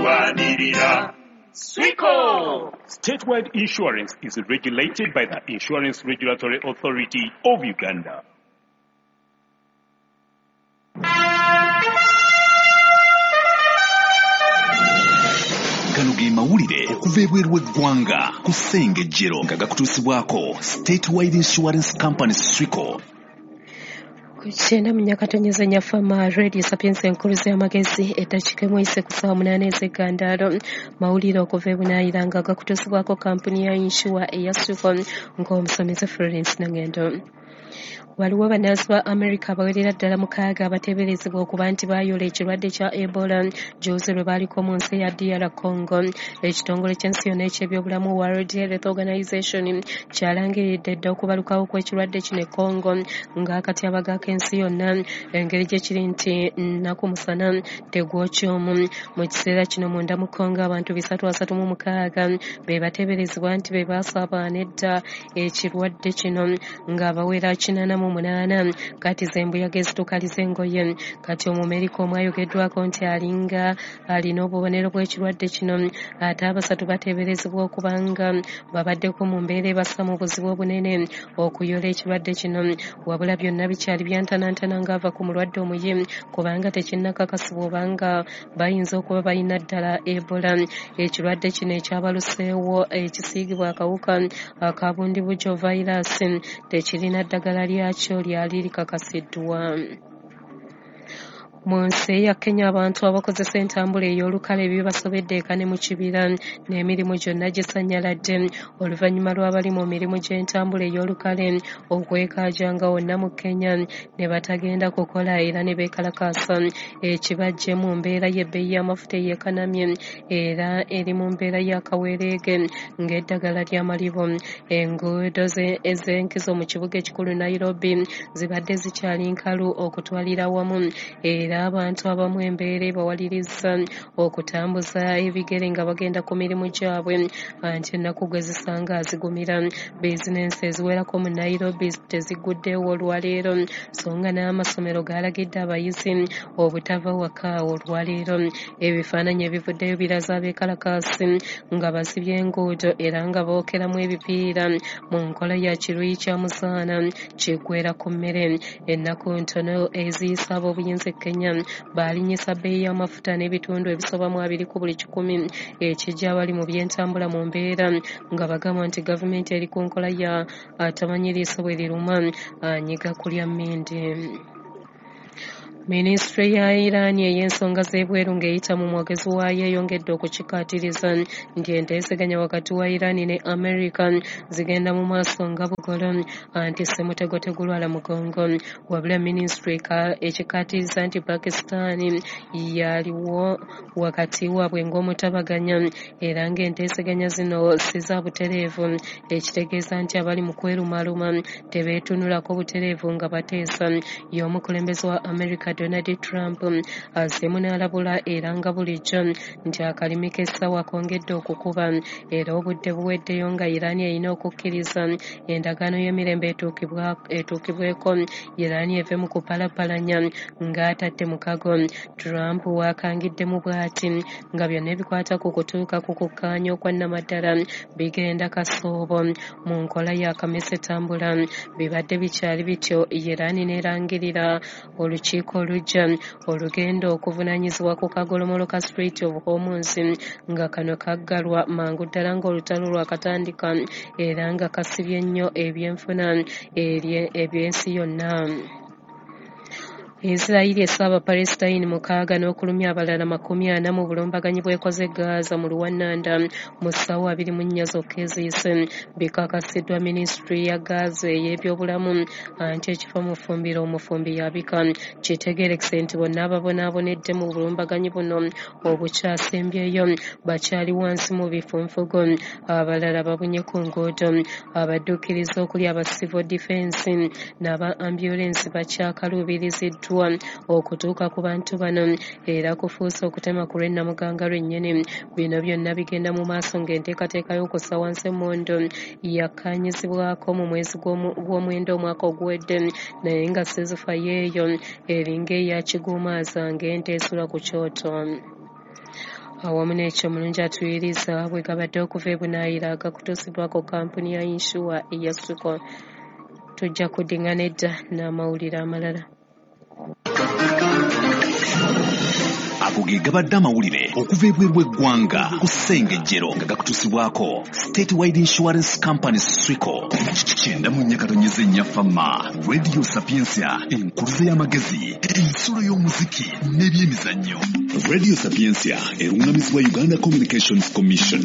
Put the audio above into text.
Tulwanirira Swico. Statewide Insurance is regulated by the Insurance Regulatory Authority of Uganda. Gano ge mawulire okuva ebweru w'eggwanga ku Ssengejjero nga gakutuusibwako Statewide Insurance Company Swico. Kyenda mu nyakatonyeza nyafama Radio Sapienza enkuluzi y'amagezi eddakiika emu eyise ku ssaawa 8 ez'eggandaalo. Mawulire okuva e Bunaayira nga gakutuusibwako kampuni ya insure eya Swico ng'omusomesa Florence Nangendo. Waliwo bannansi ba America abawerera ddala 6 abateeberezebwa okuba nti baayola ekirwadde kya Ebola jjuuzi lwe baaliko mu nsi ya DR Congo. Ekitongole ky'ensi yonna eky'ebyobulamu World Health Organization kyalangiridde dda okubalukawo kw'ekirwadde kino e Congo ng'akatyabaga k'ensi yonna engeri gye kiri nti nnaku musana tegwokya omu. Mu kiseera kino munda mu Congo abantu 336 be bateeberezebwa nti be baasaabaana edda ekirwadde kino ng'abawera 88 kati zembuyaga ezitukaliza engoye. Kati Omumerika omu ayogeddwako nti alinga alina obubonero bw'ekirwadde kino, ate abasatu bateeberezebwa okuba nga babaddeko mu mbeera ebassa mu buzibu obunene okuyola ekirwadde kino. Wabula byonna bikyali byantanantana ng'ava ku mulwadde omuyi kubanga tekinnakakasibwa obanga bayinza okuba balina ddala Ebola. Ekirwadde kino ekyabaluseewo ekisiigibwa akawuka aka Bundibugyo virus tekirina ddagala lyakyo lyali likakasiddwa. Mu nsi eya Kenya abantu abakozesa entambula ey'olukale bibasobedde eka ne mu kibira n'emirimu gyonna gisannyaladde oluvannyuma lw'abali mu mirimu gy'entambula ey'olukale okwekaajanga wonna mu Kenya ne batagenda kukola era ne beekalakaasa ekibajje mu mbeera y'ebbeeyi y'amafuta eyeekanamye era eri mu mbeera y'akaweereege ng'eddagala ly'amalibu. Enguudo ez'enkizo mu kibuga ekikulu Nairobi zibadde zikyali nkalu okutwalira awamu era abantu abamu embeera ebawaliriza okutambuza ebigere nga bagenda ku mirimu gyabwe anti ennaku gwe zisanga zigumira. Bizinensi eziwerako mu Nairobi teziguddewo olwaleero so nga n'amasomero galagidde abayizi obutava waka olwaleero. Ebifaananyi ebivuddeyo biraza abeekalakaasi nga basibye enguudo era nga bookeramu ebipiira mu nkola ya kiruyi kya muzaana kiggwera ku mmere. Ennaku ntono eziyisa ab'obuyinza e Kenya baalinyisa bbeeyi y'amafuta n'ebitundu ebisoba mu 2 ku buli 100 ekijja abali mu by'entambula mu mbeera nga bagamba nti gavumenti eri ku nkola ya atamanyi liiso bwe liruma anyiga kulya mmindi. Minisitule ya Iran ey'ensonga z'ebweru ng'eyita mu mwogezi waayo eyongedde okukikkaatiriza nti enteeseganya wakati wa Iran ne America zigenda mu maaso nga bugolo anti ssemutego tegulwala mugongo. Wabula minisitule ekikkaatiriza nti Pakistan yaliwo wakati waabwe ng'omutabaganya era ng'enteeseganya zino si za butereevu, ekitegeeza nti abali mu kwerumaaluma tebeetunulako butereevu nga bateesa. Y'omukulembeze wa America Donald Trump azzeemu n'alabula era nga bulijjo nti akalimi k'essaawa kongedde okukuba era obudde buweddeyo nga Iran erina okukkiriza endagaano y'emirembe etuukibweko Iran eve mu kupalapalanya ng'atadde mukago. Trump wakangiddemu bw'ati nga byonna ebikwata ku kutuuka ku kukkaanya okwa nnamaddala bigenda kasoobo mu nkola ya kamese tambula. Bibadde bikyali bityo Iran n'erangirira olukiiko olujja olugenda okuvunaanyizibwa ku kagolomolo ka Strait of Hormuz nga kano kaggalwa mangu ddala ng'olutalo lwakatandika era nga kasibye nnyo ebyenfuna eby'ensi yonna. Israeli esse Abapalesitayini 6 n'okulumya abalala 40 mu bulumbaganyi bw'ekoze Gaza mu Luwannanda mu ssaawa 24 zokka eziyise. Bikakasiddwa minisitule ya Gaza ey'ebyobulamu anti ekifo mu ffumbiro omufumbi yabika. Kitegeerekese nti bonna ababonaabonedde mu bulumbaganyi buno obukyasembyeyo bakyali wansi mu bifunfugu, abalala babunye ku nguudo. Abadduukirize okuli aba civil defense n'aba ambulance bakyakaluubiriziddwa okutuuka ku bantu bano era kufuuse okutema ku lw'ennamuganga lwennyini. Bino byonna bigenda mu maaso ng'enteekateeka y'okussa wansi emmundu yakkaanyizibwako mu mwezi gw'omwenda omwaka oguwedde naye nga seezifa yeeyo eringa eya kiguumaaza ng'ente esula ku kyoto. Awamu n'ekyo omulungi atuyiriza bwe gabadde okuva e Bunaayira gakutuusibwako kampuni ya yinsuwa eya Swico. Tujja kuddingana edda n'amawulire amalala. Ago ge gabadde amawulire okuva ebweru w'eggwanga ku Ssengejjero nga gakutuusibwako Statewide Insurance Company Swico. 94.4 Fama Radio Sapientia, enkuluze y'amagezi, ensulo y'omuziki n'ebyemizannyo. Radio Sapientia erungamizibwa Uganda Communications Commission.